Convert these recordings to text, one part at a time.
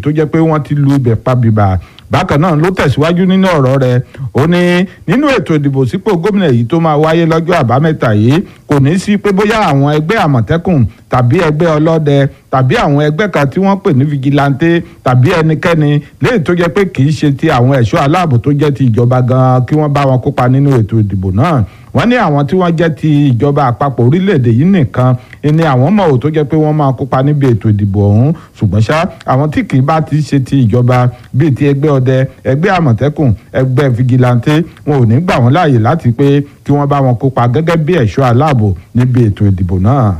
tó jẹ́ pé wọ́n ti lu ibẹ̀ pa bìbà. Bákan náà ló tẹ̀síwájú nínú ọ̀rọ̀ rẹ̀, ó ní nínú ètò ìdìbò sípò gómìnà yìí tó máa wáyé lọ́jọ́ àbámẹ́ta yìí, kò ní sí pé bóyá àwọn ẹgbẹ́ àmọ̀tẹ́kùn tàbí ẹgbẹ́ ọlọ́dẹ tàbí àwọn ẹgbẹ́ kan tí wọ́n pè ní fìjìláńtẹ́ tàbí ẹnikẹ́ni léyìí tó jẹ́ pé kì í ṣe ti àwọn ẹ̀ṣọ́ aláàbò tó jẹ́ ti ìjọba gan-an kí wọ́n bá wọn kópa nínú ètò ìdìbò náà. Wọ́n ní àwọn tí wọ́n jẹ́ ti ìjọba àpapọ̀ orílẹ̀-èdè yìí nìkan ni àwọn mọ̀ ò tó jẹ́ pé wọ́n máa kópa níbi ètò ìdìbò ọ̀hún, ṣùgbọ́n ṣá àwọn tí kì í bá ti ṣe ti ìjọba bíi ti ẹgbẹ́ ọdẹ, ẹgbẹ́ àmọ̀tẹ́kùn, ẹgbẹ́ fìgìláńtẹ́, wọn ò ní gbà wọ́n láàyè láti pé kí wọ́n bá wọn kópa gẹ́gẹ́ bí ẹ̀ṣọ́ aláàbò níbi ètò ìdìbò náà.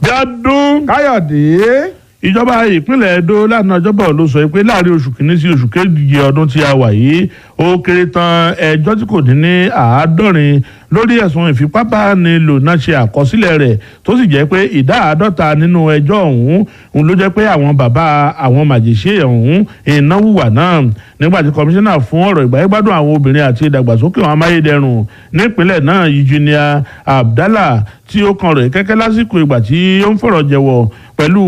Bíọ́dún. Káyọ̀dé. Ìjọba ìpínlẹ̀ Edo lánàá ọjọ́bọ̀ ló sọ pé láàrin oṣù kìíní sí oṣù keje ọdún tí a wà yìí, ó kéré tán ẹjọ́ tí kò dín ní 70 lórí ẹ̀sùn ìfipábánilò náà ṣe àkọsílẹ̀ rẹ̀, tó sì jẹ́ pé ìdá 50 nínú ẹjọ́ ọ̀hún òun ló jẹ́ pé àwọn bàbá àwọn màjèṣe ọ̀hún ìnáwó wà náà. Nígbà tí kọmíṣánná fún ọ̀rọ̀ ìgbáyégbádùn àwọn obìnrin àti ìdàgbàsókè àwọn amáyédẹrùn nípínlẹ̀ náà, Eugenia Abdallah, tí ó kan rẹ̀ kẹ́kẹ́ lásìkò ìgbà tí ó ń fọ̀rọ̀ jẹ̀wọ̀ pẹ̀lú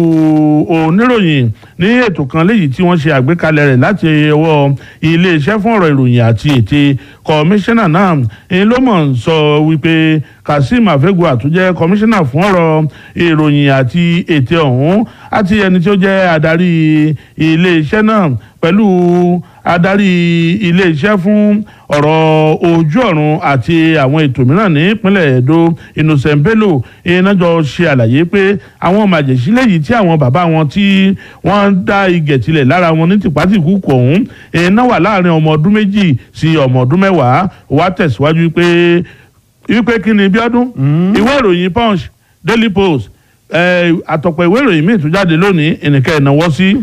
oníròyìn ní ètò kan léyìí tí wọ́n ṣe àgbékalẹ̀ rẹ̀ láti ọwọ́ iléeṣẹ́ fún ọ̀rọ̀ ìròyìn àti ète, kọmíṣánná náà ń ló mọ̀ ń sọ wípé Kazeem Afegua tó jẹ́ kọmíṣánná fún ọ̀rọ̀ ìròyìn àti ète ọ̀hún àti ẹni tí ó jẹ́ adarí iléeṣẹ́ náà pẹ̀lú adarí iléeṣẹ́ fún ọ̀rọ̀ ojú ọ̀run àti àwọn ètò mìíràn nípínlẹ̀ Edo, Innocent Bello, iná jọ ṣe àlàyé pé àwọn màjèṣílẹ̀ yìí tí àwọn bàbá wọn tí wọ́n dá igẹ̀ tilẹ̀ lára wọn ní tìpátìkúkù ọ̀hún iná wà láàrin ọmọ ọdún 2 sí ọmọ ọdún 10. Wá tẹ̀síwájú pé wípé kí ni Bíọ́dún, ìwé ìròyìn Punch, Daily Post, àtọ̀pọ̀ ìwé ìròyìn míì tún jáde lónìí ìnìkẹ́ ìnáwó sí.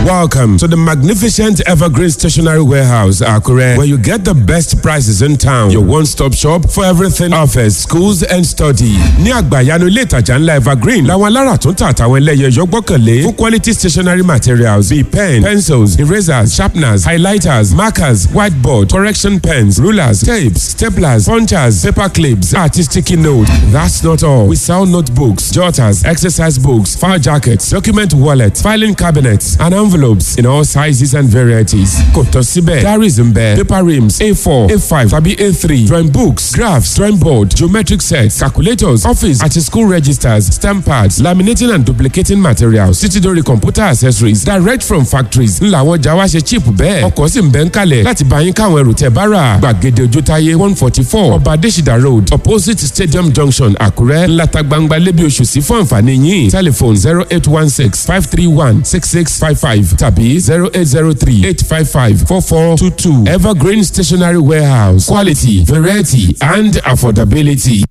Welcome to the magnificent Evergreen Stationery Warehouse, Akure, where you get the best prices in town. Your one-stop shop for everything office, schools and study. Ní àgbàyanu ilé ìtajà ńlá Evergreen, làwọn alára tó ń tà àtàwọn ẹlẹ́yẹ yọ gbọ́kànlé fún quality stationery materials bíi pen, pencils, erasers, sharpeners, highlighters, markers, whiteboard, correction pens, rulers, tapes, staplers, punchers, paper clips, àti sticky note. That's not all. We sell notebooks, jotters, exercise books, file jackets, document wallets, filing cabinets, and envelopes in all sizes and varieties. Kò tán síbẹ̀, diaries ń bẹ, paper rims A4, A5 tàbí A3, drawing books, graphs, drawing board, geometric sets, calculators, office àti school registers, stamp pads, laminating and duplicating materials, títí dórí computer accessories direct from factories. Ńlá àwọn ọjà wa ṣe cheap bẹ́ẹ̀. Ọkọ̀ sì ń bẹ ń kalẹ̀ láti bá yín káwọn ẹrù tẹ́ bá rà. Gbàgede Ojútáyé 144, Ọba Adésìdá Road, opposite Stadium Junction, Àkúrẹ́. Ńláta gbangba lébi oṣù sí fún àǹfààní yín. Telephone 08165316655 tàbí 08038554422. Evergreen Stationery Warehouse, quality, variety and affordability.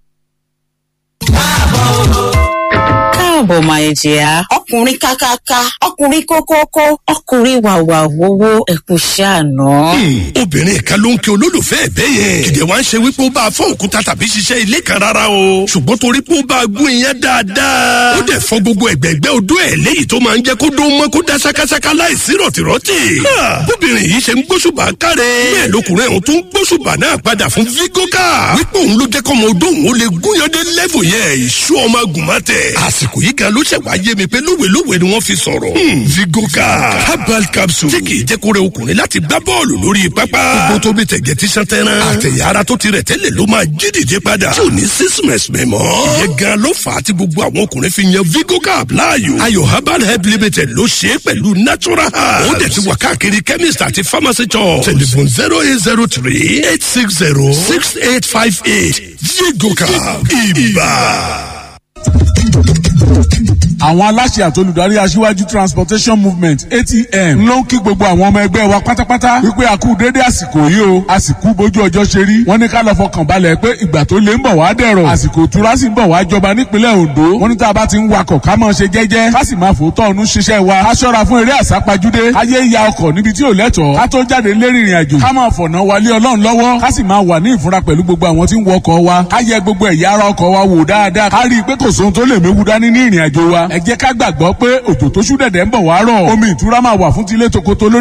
Káàbọ̀ máa jìyà. Ọkùnrin kákáká, ọkùnrin kókókó, ọkùnrin wàwà wowó, ẹkùn ṣàánú. Obìnrin kan ló ń kí olólùfẹ́ ẹ̀ bẹ́ẹ̀ yẹn. Kìdẹ̀ wá ń ṣe wípé ó bá a fọ́ òkúta tàbí ṣiṣẹ́ ilé kan rárá o. Ṣùgbọ́n torí pé ó bá a gún iyán dáadáa, ó dẹ̀ fọ́ gbogbo ẹ̀gbẹ́gbẹ́ odó ẹ̀ léyìí tó máa ń jẹ́ kó dó mọ́ kó dá ṣákáṣáká láìsí rọ̀tìrọ̀tì. Bóbìnrin yìí ṣe ń gbóṣùbà káre, bẹ́ẹ̀ lọkùnrin ọ̀hún tó ń gbóṣùbà náà padà fún Vigoka, wípé òun ló jẹ́ kọ́mọ odó òun ó lè gúnyandé lẹ́fù yẹn ìṣú ọmọ agùnmọ́tẹ̀. Àsìkò yìí gan ló ṣẹ̀ wá yé mi pé lówelówe ni wọ́n fi sọ̀rọ̀. Vigoka herbal capsule tí kì í jẹ́ kó rẹ ọkùnrin láti gbá bọ́ọ̀lù lórí pápá. Gbogbo tó bí tẹ̀gẹ̀ tí sàn tẹ́ran. Àtẹ̀yà ara tó ti rẹ̀ tẹ́lẹ̀ ló máa jí dìde padà, tí ò ní sísìmẹ̀sì mọ́. Ìyẹn gan ló fà á tí gbogbo àwọn ọkùnrin fi yan Vigoka láàyò. Ayọ̀ Herbal Help Limited ló ṣe é pẹ̀lú natural herbs. Ó dẹ̀ ti wà káàkiri chemist àti pharmacy shops. Telephone 08038606858. Vigoka ibà. Àwọn aláṣẹ àtolùdarí Aṣíwájú Transportation Movement, ATM, ló ń kí gbogbo àwọn ọmọ ẹgbẹ́ wa pátápátá wípé a kú déédé àsìkò yìí o, a sì kú bójú ọjọ́ ṣe rí. Wọ́n ní ká lọ fọkàn balẹ̀ pé ìgbà tó lé ń bọ̀ wá dẹ̀rọ̀, àsìkò ìtura sì ń bọ̀ wá jọba nípínlẹ̀ Ondo. Wọ́n ní tá a bá ti ń wakọ̀, ká máa ṣe jẹ́jẹ́, ká sì máa fòótọ́ ọ̀nù ṣiṣẹ́ wa, ká ṣọ́ra fún eré àsápajúdé, ká yé ya ọkọ̀ níbi tí ò lẹ́tọ̀ọ́, ká tó jáde lérí ìrìn àjò, ká máa fọ̀nà wálé Ọlọ́run lọ́wọ́, ká sì máa wà ní ìfúnra pẹ̀lú gbogbo àwọn tí ń wọkọ̀ wa, ká yẹ gbogbo ẹ̀yà ara ọkọ̀ wa wò dáadáa, ká rí i pé kò sóhun tó lè méwu dání ní ìrìn àjò wa. Ẹ jẹ́ ká gbàgbọ́ pé òjò tó ṣú dẹ̀dẹ̀ ń bọ̀ wá rọ̀, omi ìtura máa wà fún tilé tokoto lórí.